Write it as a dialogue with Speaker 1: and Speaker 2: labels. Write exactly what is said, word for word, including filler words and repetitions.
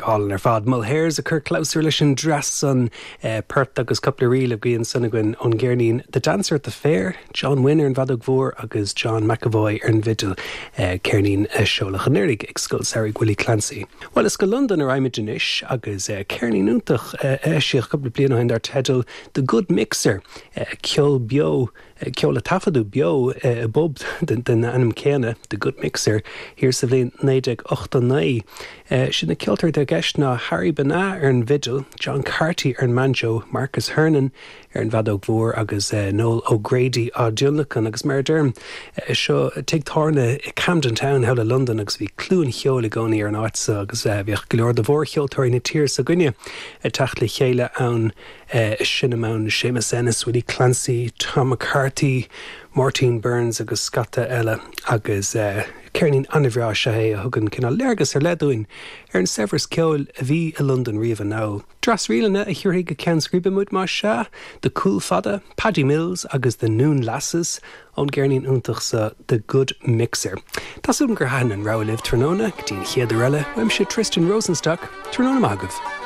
Speaker 1: Go hálainn ar fad Mulhairs a chur clabhsúr leis an dreas san eh, port agus cúpla ríl a bhí ansan againn ón gceirnín The Dancer at the Fair, John Wynne ar an bhfeadóg mhór agus John McAvoy ar an bhfidil eh, ceirnín eh, seoladh anuraidh ag Scoil Samhraidh Willie Clancy. Well is go London a raghaimid anois agus eh, ceirnín iontach eh, eisíodh cúpla bliain ó shin dar teideal The Good Mixer eh, ceol beo ceol a taifeadadh beo i bpub den den ainm céanna The Good Mixer thiar sa bhliain naoi déag ochtó naoi. Sin na ceoltóirí i gceist ná Harry Benagh ar an bhfidil, John Carty ar an mbanjo, Marcus Hernon ar an bhfeadóg mhór agus uh, Noel O'Grady á dtionlacan agus mar derm uh, seo tigh tábhairne i Camden Town thall i London agus bhí clú an cheoil i gcónaí ar an áit seo agus uh, bhíodh go leor de mhórcheoltóirí na tíre s'againne ag teacht le chéile ann uh, sin ann Seamus Ennis, Willie Clancy, Tom McCarthy, Martin Burns agus scata eile agus uh, ceirnín an-bhreá sé a thugann cineál léargas ar leith dúinn ar an saibhreas ceoil a bhí i London riamh anall. Dreas ríleanna a thabharfaidh go ceann scríbe muid mar seo, The Cool Fada, Paddy Mills agus the Noon Lasses ón gceirnín iontach seo The Good Mixer. Tásún gur han an railih tráthnóna go dtí an chéad uair eile, uaimse Tristan Rosenstock, tráthnóna maith agaibh.